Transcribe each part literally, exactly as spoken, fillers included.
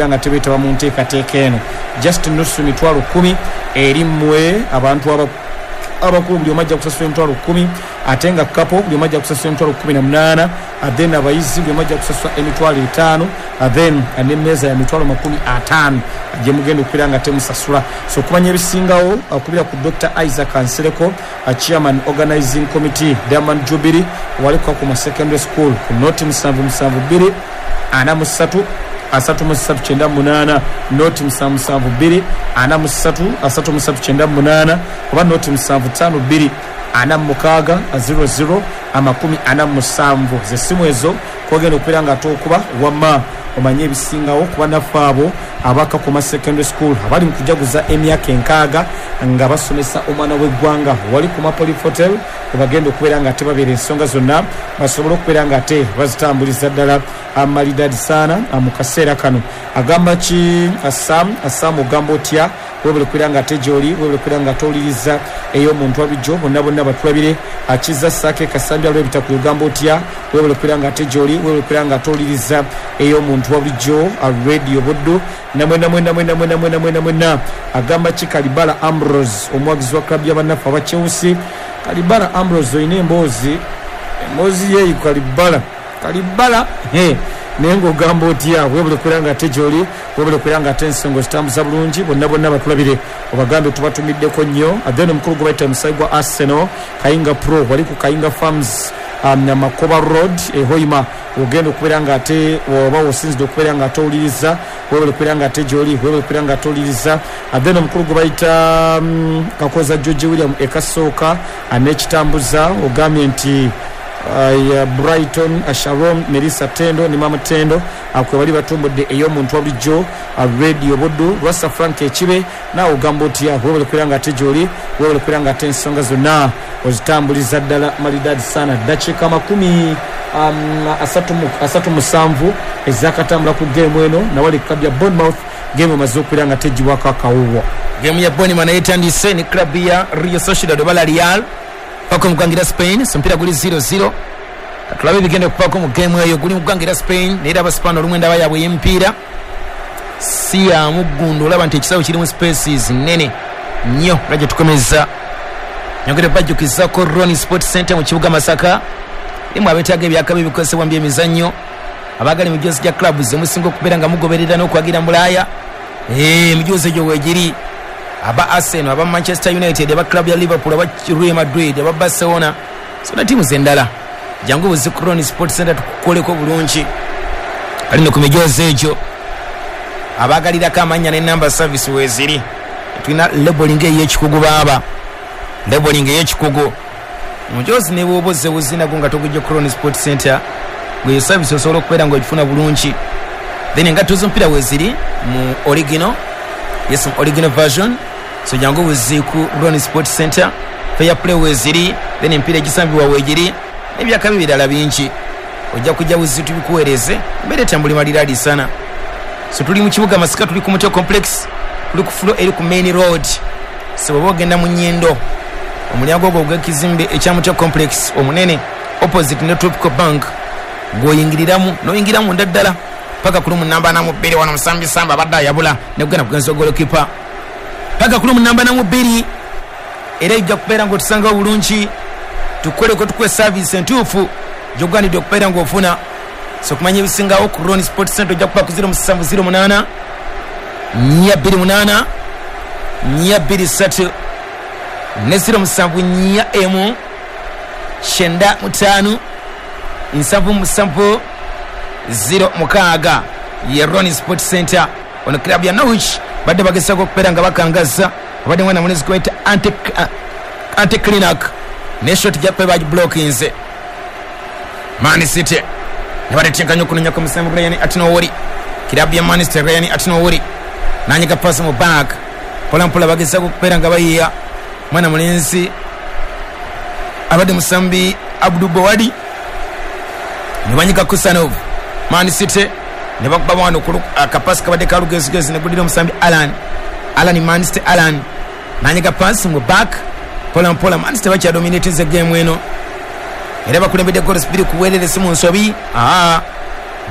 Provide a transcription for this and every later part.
okubeera nga tebeetaba mu nteekateeka eno. Just nusu mitwalo kkumi eri mmwe abantu aba abakulu, buli omu ajja kusasula emitwalo kkumi, ate nga couple buli omu ajja kusasula emitwalo kkumi na munaana, then abayizi buli omu ajja kusasula emitwalo etaano, then n'emmeeza ya mitwalo makumi ataano gye mugenda okubeera nga temusasula. So okumanya ebisingawo, okubira ku Doctor Isaac Nsereko, chairman organizing committee, Diamond Jubilee, wali Kakuma Secondary School, ku nought musanvu musanvu bbiri ana mu ssatu asatu mu ssatu kyenda mu munaana, nought musanvu musanvu bbiri ana mu ssatu asatu mu ssatu kyenda mu munaana, oba nought musanvu ttaano bbiri ana mu mukaaga zero zero amakumi ana mu musanvu. Zessimu ezo kwogenda okubeera nga ate okuba wamma omanye ebisingawo kuba naffe abo abakakoma Secondary School abali mu kujaguza emyaka enkaaga nga basomesa omwana w'eggwanga, wali ku Mapolif Hotel webagenda okubeera nga ate babeera, ensonga zonna basobole okubeera nga ate bazitambuliza ddala amalidadi saana. Mu kaseera kano agamba ki Sam? Sam, ogamba otya? Webale kubeera nga ate gyoli, webale kubeera nga ate owuliriza ey'omuntu wabijjo. Bonna bonna batulabire. Akiza Saake Kasambya lw'ebitakuli, ogamba otya? Webale kubeera nga ate gyoli, webale kubeera nga ate owuliriza ey'omuntu wabulijjo, Radio Buddu. Namwena mwena mwena mwena mwena mwena mwena. Agamba ki Kalibala Ambrose, omuwagizi wa club y'abannaffe Abachelsea? Kalibala Ambrose, olina emboozi, emboozi yeeyi. Kalibala, Kalibala, naye ngaogamba otya? Webale kubeera nga ate gyoli, webale kubeera nga ate ensonga zitambuza bulungi. Bonna bonna batulabire, obagambe tubatumiddeko nnyo. Then omukulu gwe bayita omusayi gwa Arsenal, Kayinga Pro, wali ku Kayinga Farms, um, Makoba Road ehoima, ogenda okubeera nga ate oba osinzidde okubeera nga ate owuliriza. Webale kubeera nga ate gyoli, webale kubeera nga ate owuliriza. Then omukulu gwe bayita um, Kakoza George William ekasooka n'ekitambuza, ogambye nti uh, Brighton, uh, Sharom, Melissa Tendo ne Mama Tendo kwe bali batumbudde ey'omuntu wabulijjo, uh, Radio Buddu. Lwasa Frank Ekibe, naawe ogamba otya? Webale kubeera nga ate gyoli, webale kubeera nga ate ensonga zonna ozitambuliza ddala malidadi sana. Dakiika makumi um, asatu musanvu ezakatambula ku geemu eno, nawali club ya Bournemouth geemu emaze okubeera nga tegibwako akawuwo. Geemu ya Bournemouth naye etandise ne club ya Real Sociedad oba La Real paka mu ggwanga erya Spain. So omupiira guli zero zero, katulabe ebigenda okuvaako mu geemu eyo. Guli mu ggwanga erya Spain, naye era Abaspaani olumu endaba yaabwe ey'emipiira si ya muggundu. Olaba nti ekisawo kirimu spaces nene nnyo. Era gye tukomeza, nyongere bajjukizako Roni Sport Center mu kibuga Masaka, erimu abeetaaga ebyakabi ebikozesebwa mu byemizannyo, abaagala emijoozi gya clubs emusinga okubeera nga mugoberera n'okwagira mu Bulaaya. Emijoozi egyo weegiri: aba Arsenal, aba Manchester United, aba club ya Liverpool, aba Real Madrid, aba Barcelona, zonna tiimu zendala. Jangu buzi ku Roni Sport Center tukukoleko bulungi. Kalino ku mijoozi egyo, abaagalirako amannya n'enamba, service weeziri. Tulina labeling ey'ekikugu, baaba labeling ey'ekikugu. Omujoozi ne bwoba ozze buzinago nga togujja ku Roni Sport Center, gwe service osobola okubeera nga ogifuna bulungi. Then engatto z'omupiira weeziri mu original, yes, mu original version. So jangu buzi ku Roni Sport Center. Fair play weeziri, then emipiira egisambibwa weegiri n'ebyakabi birala bingi. Ojja kujja buzi tubikuweereze, embeera etambuli maliraadi sana. So tuli mu kibuga Masaka, tuli ku Mutyo Complex, tuli ku floor eri ku main road. So bw'oba ogenda mu Nyindo, omulyango ogwo ogw'ekizimbe ekya Mutyo Complex omunene, opposite ne Tropical Bank, gw'oyingiriramu n'oyingira munda ddala paka ku room namba ana mu bbiri. Wano musambi samba abadde ayabula nekugenda kugenza golokipa paka ku room namba ana mu bbiri. Era ejja kubeera ng'otusangawo bulungi, tukoleko, tukuwe service entuufu gyogwanidde okubeera ng'ofuna. So kumanya ebisingawo ku Ron Sport Center, ojja kuba ku zero musanvu zero munaana nnya bbiri munaana nnya bbiri ssatu ne zero musanvu nnya emu kyenda mutaano nsanvu musanvu zero mukaaga. Ye Ron Sport Center. Ono club ya Norwich badde bagezaako okubeera nga bakangaza, abadde mwana munezi gweta Ante Clinac, ne shot jakuba bagiblokinze. Man City ne batetenkanya okunonya ku musambi Rayan Ait-Nouri. Kirabu ya Manchester, Rayan Ait-Nouri nanyiga pasi mu back, mpolampola bagezaako okubeera nga bayiya mwana mulenzi abadde musambi Abdu Bowadi, ne banyiga Kusanov. Man City ne bakuba wano akapasi kabadde kalugezigezi, negudira omusambi Alan Alan Manchester Alan nanyiga pasi mu back, mpola mpola. Manchester bakyadominatinze game eno, era bakulembedde goals bbiri ku bwerere, si mu nsobi. Aa,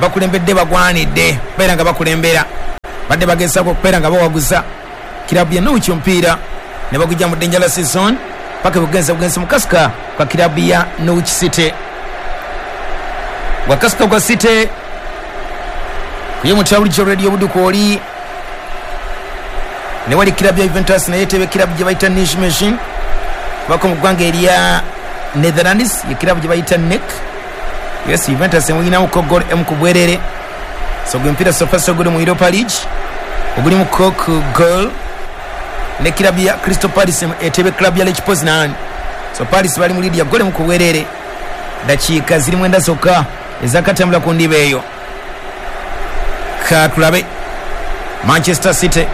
bakulembedde, bagwanidde beera nga bakulembera. Badde bagezaako okubeera nga bawaguza kirabu ya Norwich omupiira ne bagujja mu dangerous zone paka bugenza bugenza mu kasika kwa kirabu ya Norwich City. Wakasika kwa City kuye mutawuli Radio Buduku oli ne wali kirabu ya Juventus naye tebe kirabu gye bayita Nijmegen bako mu ggwanga erya Netherlands ye kirabu gye bayita N E C. Yes, Juventus emuyinamu ko goal emu ku bwerere. So gwe mpira so far so good mu Europa League oguli mu Coke goal ne kirabu ya Crystal Palace etebe club ya Lech Poznan. So Palace bali mu lead ya goal emu ku bwerere, dakiika ziri mwenda zokka ezakatambula ku ndiba eyo. Katulabe Manchester City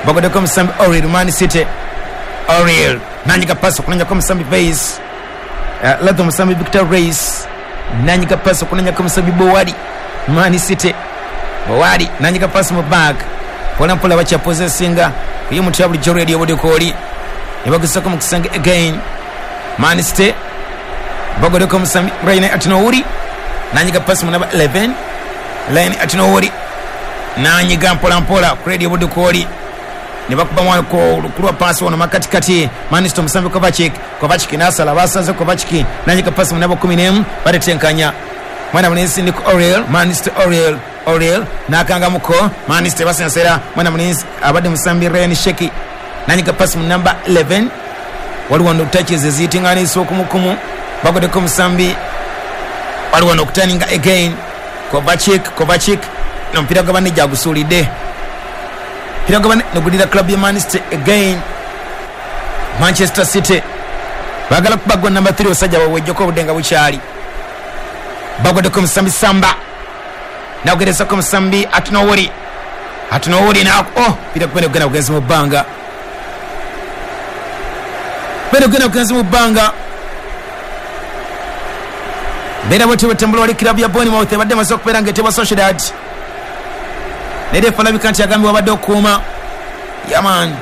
bagodeko musambi Oriel. Man City Oriel nanyiga pasi okunanyako musambi Vase, uh, ladho musambi Victor Reis nanyiga pasi okunanyako musambi Bowadi. Man City Bowadi nanyiga pasi mu back mpola mpola bakyapozesinga kuye mutya bulijjo Radio Budukoli ne bagusako mu kisenge again. Man City bagodeko musambi Ryan Atinouri nanyiga pasi mu namba eleven Ryan Atinouri nanyiga mpola mpola ku Radio Budukoli ne bakuba mwana ko kulwa pasi wano makatikati. Man City musambi Kovacic, Kovacic nasala basanze Kovacic nanyiga pasi mu namba kumi n'emu baretenkanya mwana mulinzi Nico Oriel. Man City Oriel Oriel nakangamuko Man City basensera mwana mulinzi abadde musambi Ryan Sheki nanyiga pasi mu namba eleven waliwo no touches ezitinganisa okumukumu bagodeko musambi waliwo no kutaninga again Kovacic, Kovacic nompira gwa banne jagusulidde mpira gwa banne nogulira club ya Man City again. Manchester City bagala kubagwa number three osajja wawejjoko obudenga bukyali bagodeko musambi Samba nagerezako musambi Atinowori Atinowori na oh pira kwenda kugenda kugenza mu bbanga kwenda kugenda kugenza mu bbanga. Bera bote batambula wali club ya Bournemouth badde maze okubeera ng'etebwa Sociedad nere falabika nti agambye wabadde okuuma yaman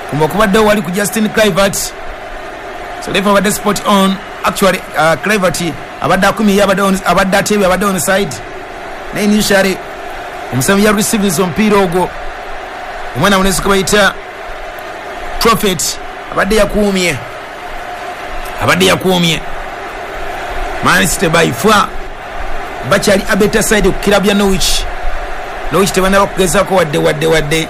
kumba okubadde wali ku Justin Kluivert. So refa abadde spot on actually. uh, Kluivert abadde akumye abadde on abadde atebye abadde on side naye initially omusambi ya receives omupiira ogwo omwana munesi kubayita Prophet abadde yakuumye abadde yakuumye. Man City by far bakyali a better side ku club ya Norwich. Norwich tebannaba kugezaako wadde wadde wadde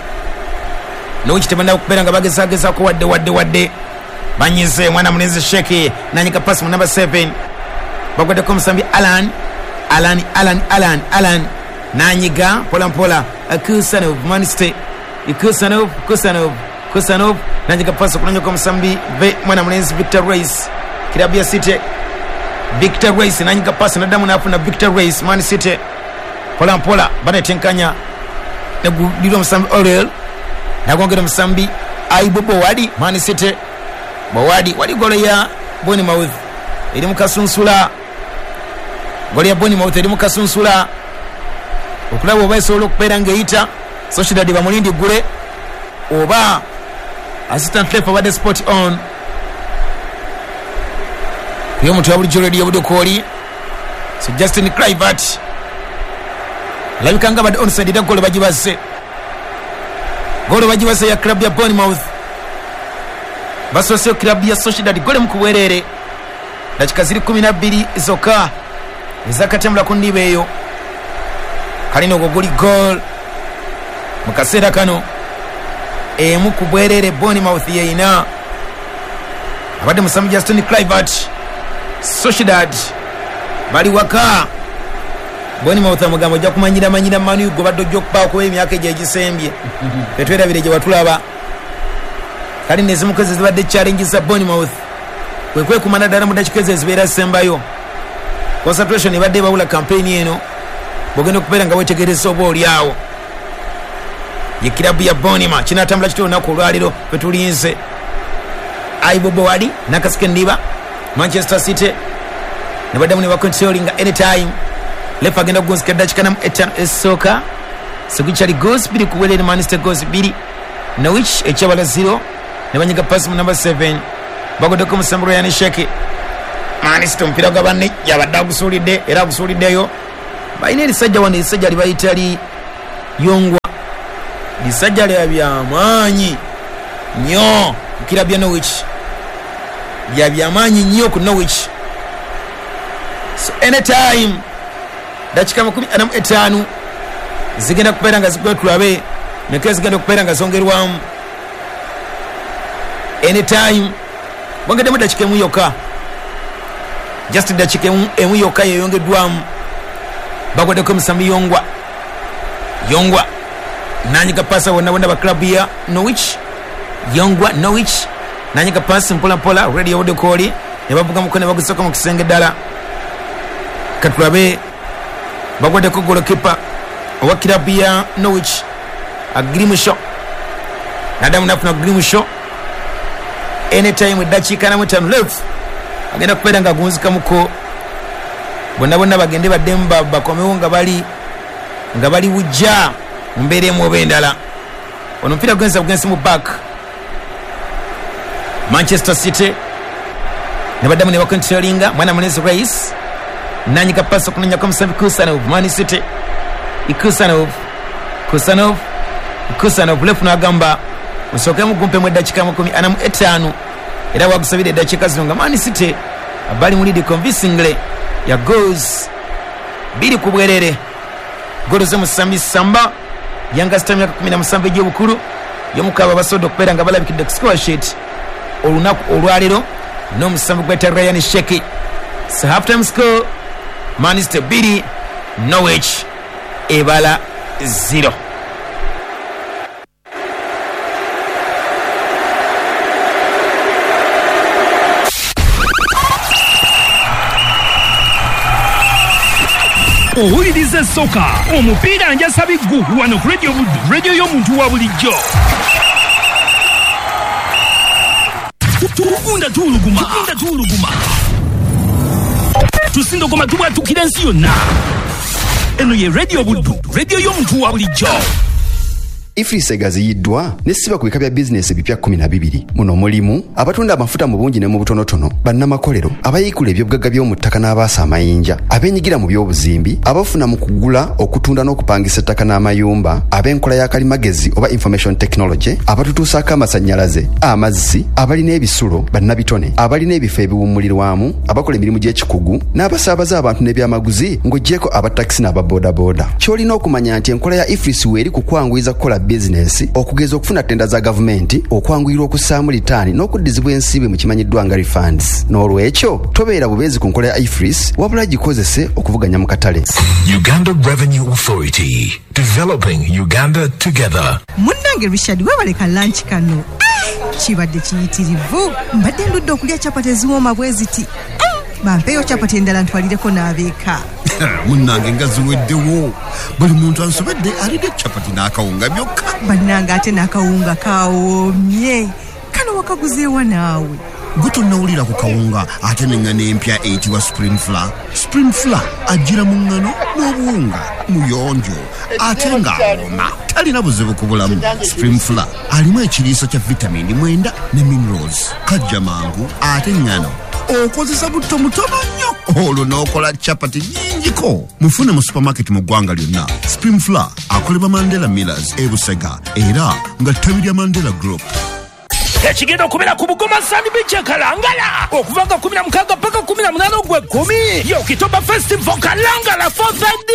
Norwich tebannaba kubeera nga bagezagezaako wadde wadde wadde. Banyize mwana munezi Sheki nanyika pasi mu number seven bagwaddeko musambi Alan Alan Alan Alan Alan nanyiga mpola mpola Kusanov. Man City Kusanov Kusanov Kusanov nanyiga pasi okunanyako musambi mwana munezi Victor Reis club ya City. Victor Reis nanyiga pasi naddamu n'afuna Victor Reis. Man City mpola mpola banetenkanya negulirwa musambi Oriel nagongera musambi Aibo Bowadi. Man City Bowadi wali golo ya Bournemouth eri mu kasunsula golo ya Bournemouth eri mu kasunsula okulaba oba esobola okubeera ng'eyita Sociedad bamulindi gule oba assistant ref abadde spot on kuyo omuntu wa bulijjo Radio Budukoli. So Justin Kluivert alabika nga abadde onside era golo bagibaze golo bagibaze ya club ya Bournemouth basoseyo club ya Sociedad gole mu kubwerere dakika ziri kumi na bbiri zokka ezakatambula ku ndiba eyo. Kalina ogwo guli goal mu kaseera kano emu ku bwerere Bournemouth yeyina abadde musambi Justin Kluivert. Sociedad bali waka. Bournemouth amagambo ojja kumanyira manyira Manu gwe badde ojja okubaako emyaka egyo egisembye tetwerabire gye watulaba. Kalina ezimu ku ezo zibadde challenge za Bournemouth kwe kwekumana ddala mu dakiika ezo ezibeera zisembayo. Concentration ebadde ebawula campaign eno bw'ogenda okubeera nga weetegereza oba oli awo ye kirabu ya Bournemouth kinaatambula kitya olunaku olwaleero ffe tulinze. Aibo Bowadi nakasika endiba Manchester City ne baddamu ne bacontrollinga anytime. Lefa agenda kugonzika eddakiika namu etaano esooka Seguchali goals bbiri ku bwerere Man City goals bbiri Norwich ekyabala zero ne banyiga pasi mu number seven bagoddeko musambi Ryan Sheki. Man City omupiira gwa banne yabadde agusuulidde era agusuuliddeyo. Balina erisajja wano erisajja libayita li Yongwa Lisajja lya byamaanyi nnyo ku club ya Norwich, lya byamaanyi nnyo ku Norwich. So anytime dakika makumi ana mu etaano zigenda kubeera nga zigwa, tulabe meka zigenda okubeera nga zongerwamu. Anytime bongeddemu dakika emu yokka, just dakika emu yokka yeyongeddwamu. Bagwaddeko omusambi Yongwa, Yongwa nanyiga pasa bonna bonna ba club ya Norwich. Yongwa Norwich nanyiga pasi mpola mpola, radio Odekoli ne bavuga mukono ne bagusoka mu kisenge ddala. Katulabe bagwaddeko goalkeeper owa club ya Norwich Agrimusho, nadamu nafuna Agrimusho. Anytime dakiika na mutaano left agenda kubeera nga agunzikamuko, bonna bonna bagende baddemu bakomewo nga bali nga bali bujja mu mbeera emu oba endala. Ono omupiira gugenza bugenzi mu back. Manchester City ne baddamu ne bakontrolinga mwana mulenzi Rice nanyiga pasi okunonyako omusambi Kusanov. Man City Kusanov, Kusanov, Kusanov left n'agamba musookemu gumpemu eddakiika makumi ana mu etaano, era wagusabira eddakiika zino nga Man City abali mu lead convincingly ya goals bbiri ku bwerere. Golo z'omusambi Samba Yanga myaka kumi na musanvu egy'obukulu y'omukaba basobodde okubeera nga balabikidde ku score sheet olunaku olwaleero n'omusambi gweta Ryan Sheki. So half time score Man City bbiri, Norwich ebala zero. Owuliriza soka omupiira njasabiggu wano ku Radio Buddu, radio y'omuntu wa bulijjo. Tugunda tuwuluguma, tugunda tuwuluguma, tusindogoma tubwatukira ensi yonna. Eno ye Radio Buddu, radio y'omuntu wa bulijjo. EFRIS egaziyiddwa nesiba ku bika bya bizinesi ebipya kkumi na bibiri. Muno mulimu abatunda amafuta mu bungi ne mu butonotono, bannamakolero, abayiikula ebyobugagga by'omu ttaka n'abaasa amayinja, abeenyigira mu by'obuzimbi, abafuna mu kugula, okutunda n'okupangisa ettaka n'amayumba, ab'enkola ya kalimagezi oba information technology, abatutuusaako amasannyalaze, amazzi, abalina ebisulo, bannabitone, abalina ebifo ebiwummulirwamu, abakola emirimu gy'ekikugu, n'abasaabaza abantu n'ebyamaguzi ng'oggyeko abatakisi n'ababoodabooda. Ky'olina okumanya nti enkola ya EFRIS weeri ku kwanguyiza kukola bizinesi, okugeza okufuna tenda za gavumenti, okwanguyirwa okussaamu litaani n'okuddizibwa ensimbi mu kimanyiddwa nga refunds. N'olwekyo tobeera bubeezi ku nkola ya EFRIS, wabula gikozese okuvuganya mu katale. Uganda Revenue Authority, developing Uganda together. Munnange Richard, weebaleka lunch kano kibadde kiyitirivu. Mbadde ndudde okulya chapati eziwooma bwe ziti. Bampeeyo chapati endala ntwalireko n'abeeka. Munnange nga ziweddewo, buli muntu ansobedde alidde chapati n'akawunga byokka. Bannange ate n'akawunga kawoomye, kano wakaguzeewa naawe? Gwe tonnawulira ku kawunga ate n'eŋŋano empya eyitibwa Supreme Flour. Supreme Flour ajjira mu ŋŋano n'obuwunga, muyonjo ate ng'awooma, talina buzibu ku bulamu. Supreme Flour alimu ekiriisa kya vitamini mwenda ne minerals, kajja mangu ate ŋŋano okozesa butto mutono nnyo olwo n'okola chapati nnyingiko. Mufune mu supermarket mu ggwanga lyonna. Supreme Flour akolebwa Mandela Millers e Busega era nga ttabi lya Mandela Group. Ekigenda okubeera ku Bugoma Sand Beach e Kalangala okuva nga kumi na mukaaga paka kumi na munaana ogw'ekkumi, Oktoba Festival Kalangala fourth.